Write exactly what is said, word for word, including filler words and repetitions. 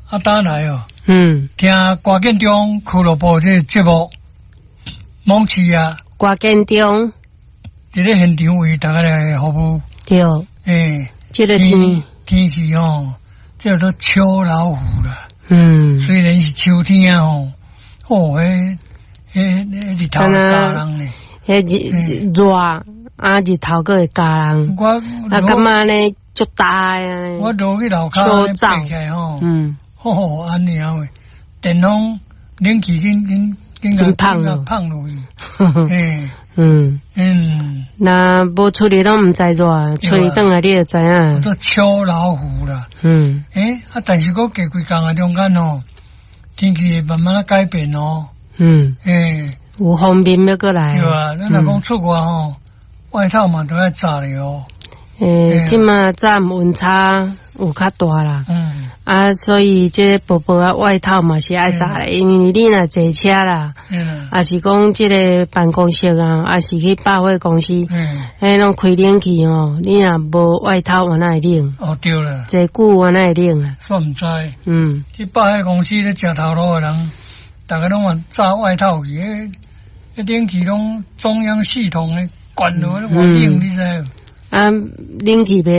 啊，打來哦，嗯，聽歌建中俱樂部這個節目，網市啊，歌建中，佇咧現場為大家來服務。對，欸，這個天天氣吼，這叫做秋老虎啦。嗯，雖然是秋天吼，哦，彼彼日頭咬人呢。彼日熱啊，日頭閣會咬人。我啊，感覺呢足焦的。我落去樓跤爬起來吼，嗯，吼，按呢啊喂，電風冷氣緊緊緊緊芳落芳落去。欸，嗯嗯，若無出去攏毋知熱，出去轉來你就知影。做秋老虎啦。嗯。欸，啊，但是閣過幾工啊中間吼，天氣會慢慢改變哦。嗯。欸，有鋒面欲閣來。對啊，咱若講出外吼，外套嘛都愛紮咧哦。欸，這馬早暗溫差有較大啦。嗯。啊，所以這薄薄仔外套嘛是愛紮咧，因為你若坐車啦，抑是講這个辦公室啊，抑是去百貨公司，彼攏開冷氣吼，你若無外套，有哪會冷？哦，對啦。坐久有哪會冷啊？煞毋知。嗯。去百貨公司咧食頭路的人，逐家攏嘛紮外套去，彼彼冷氣攏中央系統的關落，偌冷，你知無？啊，冷氣袂。